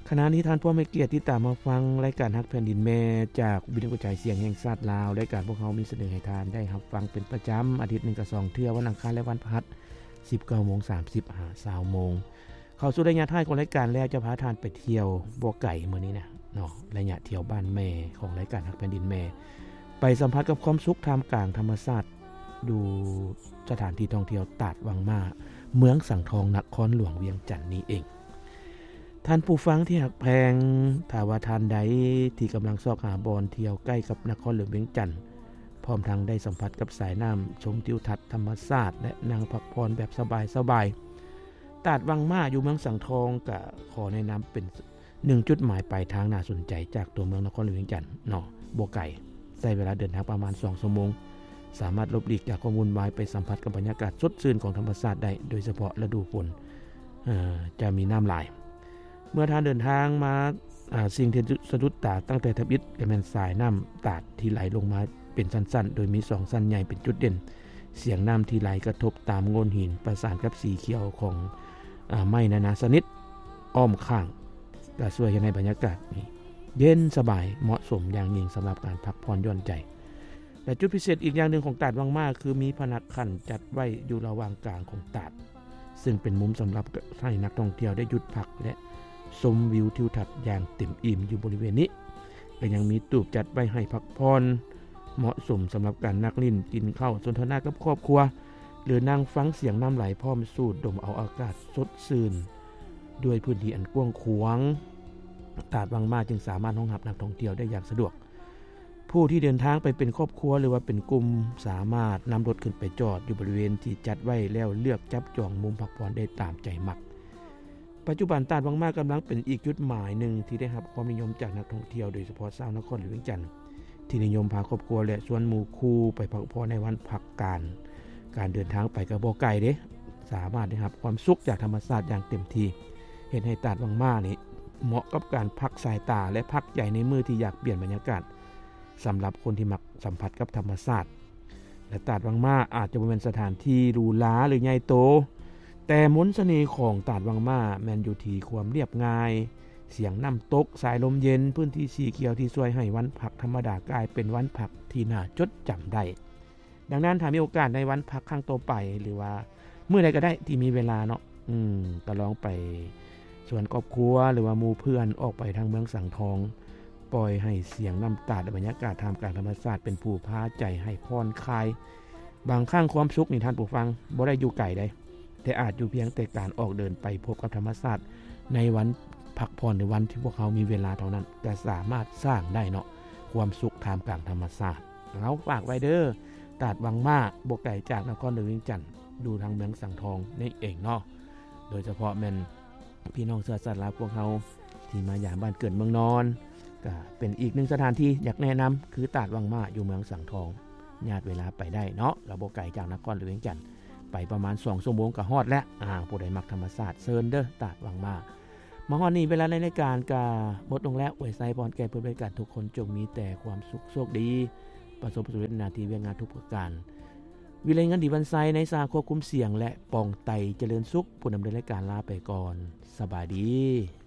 ຂະນະນີ້ທ່ານຜູ້ມີກຽດຕິດຕາມຮັບຟັງລາຍການຮັກແຜ່ນດິນແມ່ ຈາກວິທະຍຸກະຈາຍສຽງແຫ່ງຊາດລາວ. ລາຍການພວກເຮົາມີສະເໜີໃຫ້ທ່ານໄດ້ຮັບຟັງເປັນປະຈຳ ອາທິດໜຶ່ງກໍສອງເທື່ອ ວັນອັງຄານ ແລະ ວັນພະຫັດ ສິບເກົ້າໂມງສາມສິບ ຫາ ຊາວໂມງ. ເຂົ້າສູ່ໄລຍະທ້າຍຂອງລາຍການແລ້ວ ຈະພາທ່ານໄປທ່ຽວບໍ່ໄກມື້ນີ້ນະເນາະ, ໄລຍະທ່ຽວບ້ານແມ່ຂອງລາຍການຮັກແຜ່ນດິນແມ່ ໄປສຳຜັດກັບຄວາມສຸກທ່າມກາງທຳມະຊາດ ຢູ່ສະຖານທີ່ທ່ອງທ່ຽວຕາດວັງມ້າ ເມືອງສັງທອງ ນະຄອນຫຼວງວຽງຈັນນີ້ເອງ. ທ່ານຜູ້ຟັງທີ່ຮັກແພງ, ຖ້າວ່າທ່ານໃດທີ່ກຳລັງຊອກຫາບ່ອນທ່ຽວໃກ້ກັບນະຄອນຫຼວງວຽງຈັນ ພ້ອມທັງໄດ້ສຳຜັດກັບສາຍນ້ຳ, ຊົມທິວທັດທຳມະຊາດ ແລະ ນັ່ງພັກຜ່ອນແບບສະບາຍໆ, ຕາດວັງມ້າຢູ່ເມືອງສັງທອງ ກະຂໍແນະນຳເປັນ ໜຶ່ງຈຸດໝາຍປາຍທາງໜ້າສົນໃຈຈາກຕົວເມືອງນະຄອນຫຼວງວຽງຈັນເນາະ, ບໍ່ໄກ, ໃຊ້ເວລາເດີນທາງປະມານສອງຊົ່ວໂມງ, ສາມາດຫຼົບຫຼີກຈາກຄວາມວຸ່ນວາຍ ໄປສຳຜັດກັບບັນຍາກາດສົດຊື່ນຂອງທຳມະຊາດໄດ້, ໂດຍສະເພາະລະດູຝົນ ເອີ ຈະມີນ້ຳຫຼາຍ. ເມື່ອທ່ານເດີນທາງມາ, ອາ, ສິ່ງທີ່ສະດຸດຕາຕັ້ງແຕ່ທຳອິດ ກໍແມ່ນສາຍນ້ຳຕາດທີ່ໄຫຼລົງມາເປັນຊັ້ນໆ, ໂດຍມີສອງຊັ້ນໃຫຍ່ເປັນຈຸດເດັ່ນ. ສຽງນ້ຳທີ່ໄຫຼກະທົບຕາມໂງ່ນຫີນ ປະສານກັບສີຂຽວຂອງ, ອາ, ໄມ້ນານາຊະນິດອ້ອມຂ້າງ ກໍຊ່ວຍເຮັດໃຫ້ບັນຍາກາດນີ້ເຢັນສະບາຍ, ເໝາະສົມຢ່າງຍິ່ງສຳລັບການພັກຜ່ອນຢ່ອນໃຈ. ແລະ ຈຸດພິເສດອີກຢ່າງໜຶ່ງຂອງຕາດວັງມ້າ ຄືມີພະນັກຂັ້ນຈັດໄວ້ຢູ່ລະຫວ່າງກາງຂອງຕາດ, ຊຶ່ງເປັນມຸມສຳລັບໃຫ້ນັກທ່ອງທ່ຽວໄດ້ຢຸດພັກ ແລະ ຊົມວິວທິວທັດຢ່າງເຕັມອີ່ມຢູ່ບໍລິເວນນີ້. ແລະ ຍັງມີຕູບຈັດໄວ້ໃຫ້ພັກຜ່ອນ, ເໝາະສົມສຳລັບການນັ່ງຫຼິ້ນ, ກິນເຂົ້າ, ສົນທະນາກັບຄອບຄົວ ຫຼື ນັ່ງຟັງສຽງນ້ຳໄຫຼ ພ້ອມສູດດົມເອົາອາກາດສົດຊື່ນ. ດ້ວຍພື້ນທີ່ອັນກວ້າງຂວາງ, ຕາດວັງມ້າຈຶ່ງສາມາດຮອງຮັບນັກທ່ອງທ່ຽວໄດ້ຢ່າງສະດວກ. ຜູ້ທີ່ເດີນທາງໄປເປັນຄອບຄົວ ຫຼືວ່າເປັນກຸ່ມ ສາມາດນຳລົດຂຶ້ນໄປຈອດຢູ່ບໍລິເວນທີ່ຈັດໄວ້ແລ້ວ ເລືອກຈັບຈອງມຸມພັກຜ່ອນໄດ້ຕາມໃຈມັກ. ປັດຈຸບັນຕາດວັງມ້າກຳລັງເປັນອີກຈຸດໝາຍໜຶ່ງທີ່ໄດ້ຮັບຄວາມນິຍົມຈາກນັກທ່ອງທ່ຽວ, ໂດຍສະເພາະຊາວນະຄອນຫຼວງວຽງຈັນ ທີ່ນິຍົມພາຄອບຄົວ ແລະ ຊວນໝູ່ຄູ່ໄປພັກຜ່ອນໃນວັນພັກການ. ການເດີນທາງໄປກໍບໍ່ໄກເດ້, ສາມາດໄດ້ຮັບຄວາມສຸກຈາກທຳມະຊາດຢ່າງເຕັມທີ່, ເຮັດໃຫ້ຕາດວັງມ້ານີ້ເໝາະກັບການພັກສາຍຕາ ແລະ ພັກໃຈໃນມື້ທີ່ຢາກປ່ຽນບັນຍາກາດ ສຳລັບຄົນທີ່ມັກສຳຜັດກັບທຳມະຊາດ. ແລະ ຕາດວັງມ້າອາດຈະບໍ່ແມ່ນສະຖານທີ່ຫຼູຫຼາ ຫຼື ໃຫຍ່ໂຕ, ແຕ່ມົນສະເໜ່ຂອງຕາດວັງມ້າແມ່ນຢູ່ທີ່ຄວາມລຽບງ່າຍ, ສຽງນ້ຳຕົກ, ສາຍລົມເຢັນ, ພື້ນທີ່ສີຂຽວທີ່ຊ່ວຍໃຫ້ວັນພັກທຳມະດາກາຍເປັນວັນພັກທີ່ໜ້າຈົດຈຳໄດ້. ດັ່ງນັ້ນ ຖ້າມີໂອກາດໃນວັນພັກຄັ້ງຕໍ່ໄປ ຫຼືວ່າມື້ໃດກໍໄດ້ທີ່ມີເວລາເນາະ, ອືມ, ກໍລອງໄປຊວນຄອບຄົວ ຫຼືວ່າໝູ່ເພື່ອນອອກໄປທາງເມືອງສັງທອງ, ປ່ອຍໃຫ້ສຽງນ້ຳຕາດ ແລະ ບັນຍາກາດທ່າມກາງທຳມະຊາດເປັນຜູ້ພາໃຈໃຫ້ຜ່ອນຄາຍ. ບາງຄັ້ງຄວາມສຸກນີ້ ທ່ານຜູ້ຟັງ, ບໍ່ໄດ້ຢູ່ໄກໃດ, ແຕ່ອາດຢູ່ພຽງແຕ່ການອອກເດີນໄປພົບກັບທຳມະຊາດໃນວັນພັກຜ່ອນ ຫຼື ວັນທີ່ພວກເຮົາມີເວລາເທົ່ານັ້ນ ກໍສາມາດສ້າງໄດ້ເນາະ, ຄວາມສຸກທ່າມກາງທຳມະຊາດ. ເຮົາຝາກໄວ້ເດີ, ຕາດວັງມ້າ ບໍ່ໄກຈາກນະຄອນຫຼວງວຽງຈັນ, ຢູ່ທາງເມືອງສັງທອງນີ້ເອງເນາະ. ໂດຍສະເພາະແມ່ນພີ່ນ້ອງເຊື້ອຊາດລາວພວກເຮົາທີ່ມາຢາມບ້ານເກີດເມືອງນອນ, ກະເປັນອີກໜຶ່ງສະຖານທີ່ຢາກແນະນຳ ຄືຕາດວັງມ້າ ຢູ່ເມືອງສັງທອງ. ຍາດເວລາໄປໄດ້ເນາະ, ກໍບໍ່ໄກຈາກນະຄອນຫຼວງວຽງຈັນ, ໄປປະມານສອງຊົ່ວໂມງກໍຮອດແລ້ວ. ອາ, ຜູ້ໃດມັກທຳມະຊາດ, ເຊີນເດີ, ຕາດວັງມ້າ. ມາຮອດນີ້ ເວລາໃນລາຍການກໍໝົດລົງແລ້ວ. ອວຍໄຊພອນແກ່ຜູ້ເບິ່ງລາຍການທຸກຄົນ ຈົ່ງມີແຕ່ຄວາມສຸກໂຊກດີ, ປະສົບຜົນສຳເລັດໜ້າທີ່ວຽກງານທຸກປະການ. ວິໄລເງິນ ດີວັນໄຊ ໃນສາຄວບຄຸມສຽງ ແລະ ປອງໄຕ ຈະເລີນສຸກ ຜູ້ດຳເນີນລາຍການລາໄປກ່ອນ. ສະບາຍດີ.